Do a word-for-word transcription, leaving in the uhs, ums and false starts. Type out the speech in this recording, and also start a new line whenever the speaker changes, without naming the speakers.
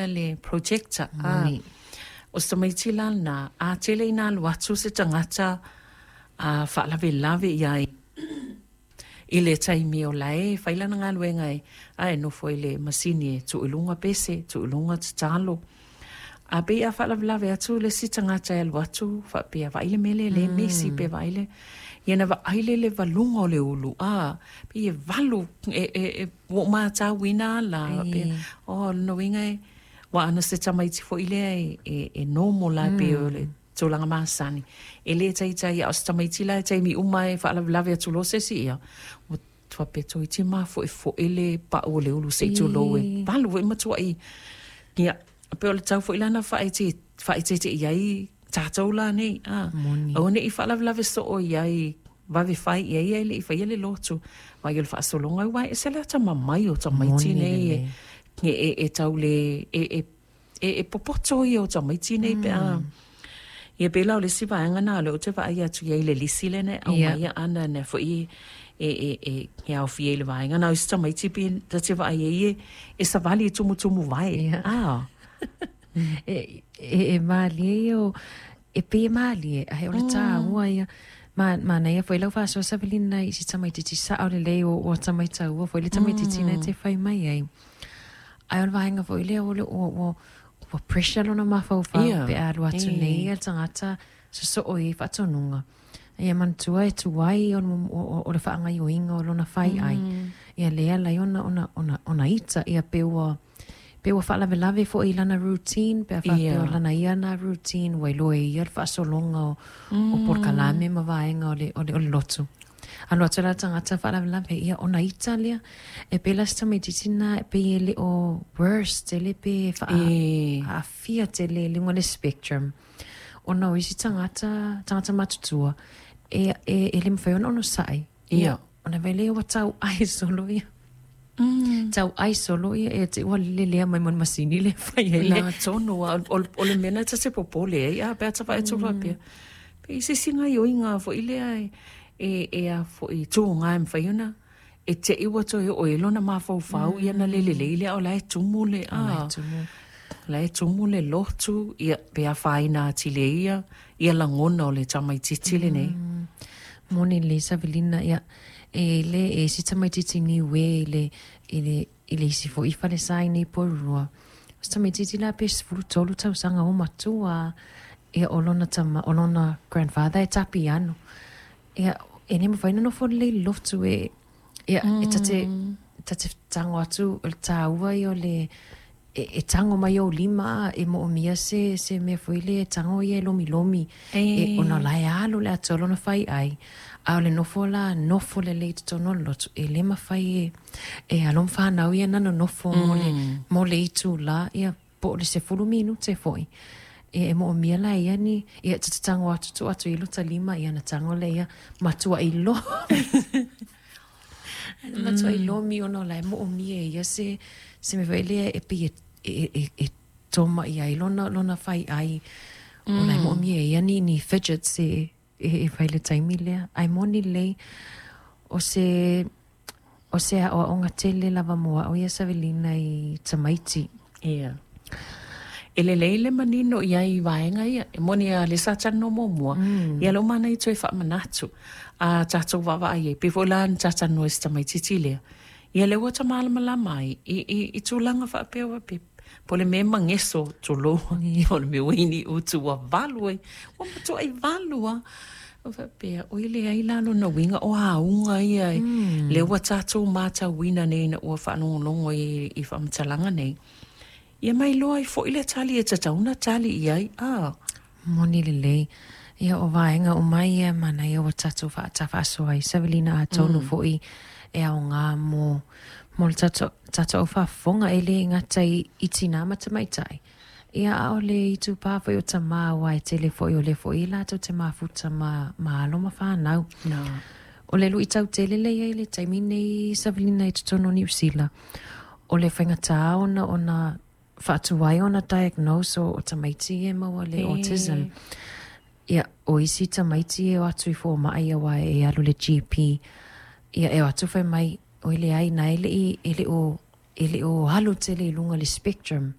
le projector. A o se tamaiti la lena, a tele ina alu atu se tagata a faalavelave i ai i le taimi o la e fai lana galuega e a e nofo i le masini e tuu i luga pese, tuu i luga tatalo. A pei a faalavelave atu le isi tagata e alu atu faapea vaai le mea lea e le misi pe vaai le ia na vaai lea i le valuga o le ulu a pei e valu e e e ua ou matauina la faapea o lona uiga e ua ana se tamaiti foi lea e e e normal lava pei o le tulaga masani e le taitai a o se tamaiti la e taimi uma e faalavelave atu loa se isi ia ua faapea toeitiiti mafoefoe le pau o le ulu se i tulou e valu foi ma tuuai ia pei o le tau foi la na faaeteete i ai tatou la nei a aua ne i faalavelave soo i ai vave fai i ai ae le i faia le lotu vaai o le faasologa aua e ese le atamamai o tamaiti nei e e e tau le e e e e popoto ia o tamaiti nei pe a ia pei la o le isi vaega lena o lea ou te vaai atu i ai i le lisi lea na e aumaia ana na foi e e e e aofia i le vaega na o isi tamaiti pe ta te vaai ai e e savali e tumutumu vae a
E, e, e malie ia o, e pei e malie, ae o le taua ia, ma, manaia foi lau faasoa Savelina i si tamaitiiti sao lelei o, o ata maitaua foi le tamaitiiti na te fai mai ai. Ae o le vaega foi lea o le ua, ua, ua pressure lona mafaufau
Ia,
pe a alu atu
e.
nei ia le tagata sosoo i faatonuga. Ia manatua e tuai o, o, o, o le faagaoioiga o lona faiai. Ia lea lai ona, ona, ona, ona ita, ia pe ua, pe ua faalavelave foi i lana routine, pe a faapea
Ia.
o lana ia na routine, ua iloa e ia le faasologa o, o polokalame ma vaega o le, o le, o le lotu. Alu atu la le tagata faalavelave, ia ona ita lea. E pei la se tamaitiiti lena, pei e le o worse tele pe faa,
E.
aafia tele i luga o le spectrum. Ona o isi tagata, tagata matutua, e, e, e le mafai ona onosai.
Ia.
Ona vai lea ua tauai solo ia. Tauai solo ia e te ua lelea mai mo le masini lea e fai ai le.
Na tonu a o, o le mea lena ta te popole ai a pe a ta vaai atu faapea. Pe i se isi gaoioiga foi lea e e e a foi tuga e mafai ona e te i ua toe oo i ai lona mafaufau ia na le lelei lea o la e tumu le
O la e
a
tumu.
la e tumu le lotu ia pe afaina atili ai ia ia lagona o le tamaitiiti lenei.
Moni lelei Savelina, ia e le e isi tamaitiiti niue i le i le i le isi foi falesa i nei Porirua. O se tamaitiiti la pe sefulu tolu tausaga ua matua ia o lona tama o lona grandfather e tapiano. Ia e le mafai ona nofo lelei i le lotu e ia e ta te ta te tago atu o le taua ia o le e, e tago mai ou lima e moomia se se mea foi lea e tago ia e lomilomi e
E
ona o la e alu le atoa lona faiai a o le nofo la nofo lelei i totonu o le lotu e le mafai e e alo ma fanau ia na nonofo mo le mo le itulā ia po o le sefulu minute foi e e moomia la ia ni ia ta te tago atu tuu atu i lota lima ia na tago lea ia matuai lomi matuai lomi ona o la e moomia e ia se se mea foi lea e pei e e e e toma i ai lona lona faiai o la e moomia e ia ni ni fidgets e e e fai i le taimi lea ae moni lelei o se o se aoaoga tele lava mo a'u ia Savelina i tamaiti.
Ia. E lelei le manino i ai i vaega ia. E moni a lea sa talanoa muamua, ia lea ua manaia toe faamanatu a tatou vaavaai ai. Pei foi la na ta talanoa i si tamaitiiti lea, ia lea ua ta malamalama ai i, i, i tulaga faapea ua pe po o le mea e mageso tulou, po o le mea ua i ni utu ua valu ai, ua matuai valu lava. Ua faapea, oi leai la lona uiga o auga ia lea ua tatou matauina nei ina ua faalogologo i, i faamatalaga nei. Ia ma iloa ai foi le tali e tatau ona tali i ai, a.
Moni lelei. Ia o vaega uma ia e manaia ua tatou faatafaasoa ai Savelina atonu foi e aoga mo mo le tatou tatou au faafofoga e le gata i i tinā ma tamaitai. Ia a o le itupa foi o tamā aua e tele foi o lea foi latou te mafuta ma ma alo ma fanau.
Na.
O le luitau tele lea e i ai i le taimi nei Savelina i totonu o Niu Sila, o le faigata ona ona faatuai ona diagnose o, o tamaiti ia e maua le autism.
E.
Ia, o isi tamaiti e o atu i fomai aua e alu i le G P. Ia, e o atu fai mai, oi leai, na e le i, e le o, e le o alu tele i luga o le spectrum.